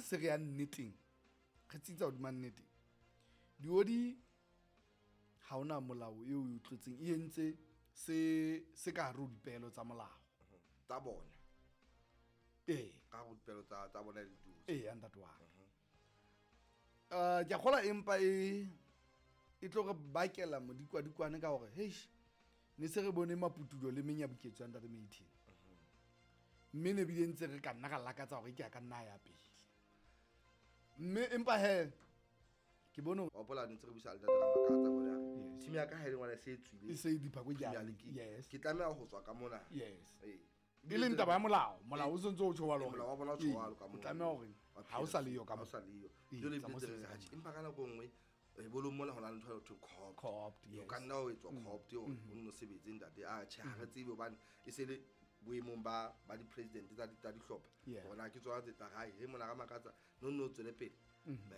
se re ya nneteng, re tsitsa hodima nnete, diodi ha ona molao eo o tlotseng, e entse se ka hare ho dipehelo tsa molao tsa bona. Ee. Ka hare ho dipehelo tsa bona le diodi. Ee, ntate wa ka. Ke a kgolwa empa e tlo re bakela modikwadikwane ka hore heish, ne se re bone maputulo le menyabuketso ya ntate Maithin, mme ne bile ntse re ka nna ra lakatsa hore ke a ka nna ya pele, mme empa he ke bone wa hopola ne ntse re buisa le ntate Ramakatsa hore a re, Yes. team ya ka ha e le ngwana e se e tswile e se e diphako Premier jane. League, Yes. ke tlameha ho tswa ka mona. Yes. Ee. E leng taba ya molao, molao o sentse o tjho jwalo hore Molao wa bona o tjho jwalo ka o moo. tlameha hore Wa ha o sa le yo ka Ha o moo. sa le yo. Ee, Jwale tsa ebile mo tse re sebetsa re, ka atjhe, empa ka nako e nngwe, bolong mona ho na le ntho e thweng co-opt. Co-opt, O yes. ka nna wa etswa co-opt hore o nno sebetse ntate. Ah, tjhe, ha re tsebe hobane e se le boemong ba di-president tsa dihlopha. Yeah. Hore na ke tsona tse tla hae, he mona Ramakatsa, no nno o tswele pele,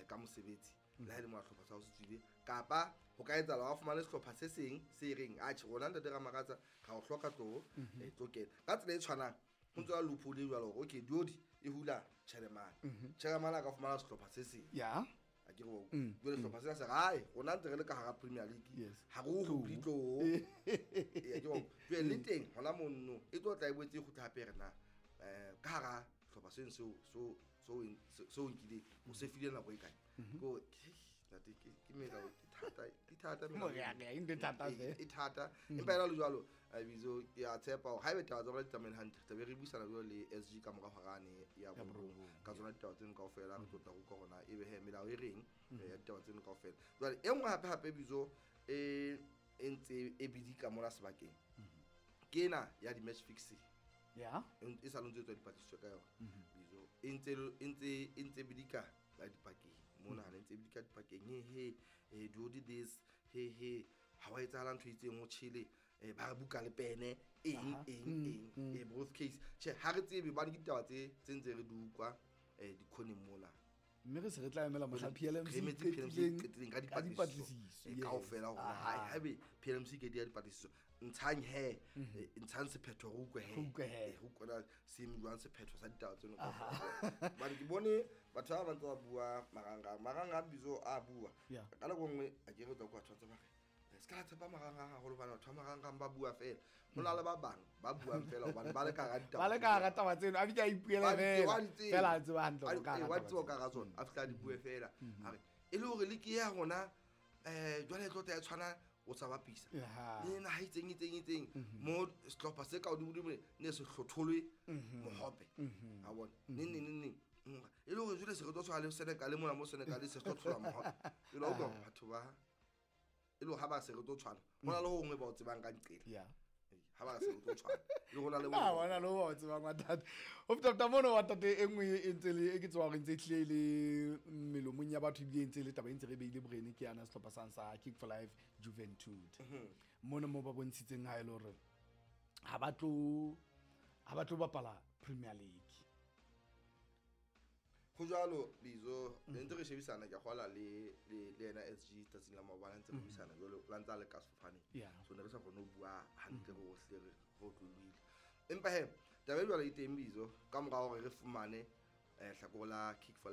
ka mosebetsi. Le ha e le mona sehlopha sa hao se tswile, kapa ho ka etsahala wa fumane sehlopha se seng se reng, atjhe, rona ntate Ramakatsa, ra o hloka tloho, tlo kena. Ka tsela e tshwanang, ho ntse ho na le loophole e jwalo hore, okay, Diodi e hula chairman. Chairman a ka fumana sehlopha se seng. Yeah. A ke re wa utlwa. Jwale sehlopha sena se re, hai, rona ntse re le ka hara Premier League. Yes. Ha re o hule tloho. Ee, ke wa utlwa. Jwale le teng hona mono, e tlo tla e boetse e kgutla hape re na, ka hara sehlopha seno seo nkileng, o se file nako e kae? Ke hore, ntate, ke melao, ke thata, ke thata melao. Mo re ya, e ntho e thata Ee, hle. e thata. Empa ena le jwalo, Bizo, ke a tshepa hore haebe taba tsa rona di tsamaile hantle, tla be re buisana jwalo le SG ka mora hora ne ya Ya borobong. borobong, Ka tsona ditaba tseno kaofela, re tlo tla utlwa hore na ebe he melao e reng, ya ditaba tseno kaofela. Jwale, e nngwe hape hape, Bizo, e ntse e bidika mona sebakeng. Ke ena ya di-match fixing. Yeah. E sa le ntse e tswa dipatlisiso ka yona. Bizo, e ntse e ntse e ntse bidika ka dipakeng. Mona ha le ntse bidika dipakeng, he, he, he, do this, he, he, ha wa etsahala ntho e itseng ho tjhele, ba re buka le pene, eng, eng, eng, both case. Tjhe, ha re tsebe hobane ke ditaba tse ntse re di utlwa, dikhoneng mona. Mme re se re tla emela mohla Re PLMC emetse PLMC qetileng qetileng ka ka dipatlisiso. dipatlisiso, yes. Kaofela hore haebe PLMC ke di ya dipatlisiso, ntshang he, ntshang sephetho re utlwe he. Re utlwe he. Re utlwe na se eme jwang sephetho sa ditaba tseno kaofela. Hobane ke bone batho ba bang tse ba bua marangrang. Marangrang Bizo a bua. Yeah. Ka nako e nngwe, a ke re tla kwa batho ba ntse ba re, se ka la tshepa marangrang haholo hobane batho ba marangrang ba bua fela. Ho na le ba bang ba buang fela hobane ba le ka hara ditaba Ba le ka hara taba tseno, a fihla a ipuela Ba di fela. wa di tseba. Fela a tseba hantle Wa hore di ka hara wa taba tseba tseno. ka hara tsona, a fihla a di bue fela. A re, e le hore le ke ya rona, jwale e tlo tla e tshwana, o sa bapisa. Aha. Le naha e itseng, itseng, itseng, mo sehlopha se ka hodimo-dimo ne se hlotholwe mohope. A bona. Neng, neng, neng, neng. E le hore jwale se re tlo tshwana le Senegal mona, mo Senegal se hlotholwa mohope. Jwale wa utlwa batho ba, e le hore ha ba se re tlo tshwana, ho na le ho hongwe ba o tsebang ka nqela. Yeah. Ha ba se re tlo tshwana, le ho na le Ah, ho bona le ho ba o tsebang wa ntate. Ho feta feta mono wa ntate, e nngwe e ntse le, e ke tsebang hore e ntse e tlile le melomong ya batho, ebile e ntse e le taba e ntse re beile borene, ke yana sehlopha sang sa Kick for Life Juventud. Mono mo ba bontshitseng ha e le hore ha ba tlo bapala Premier League. Ho jwalo, Bizo, ne ntse re shebisana, ke a kgolwa le yena SG tsatsing la maobane, ntse re buisana jwalo, la ntse a le ka sefofaneng. Yeah. So ne re sa kgone ho bua hantle re ohle re otlolohile. Empa he, taba e jwalo e teng, Bizo, ka mora hore re fumane, hlakore la Kick for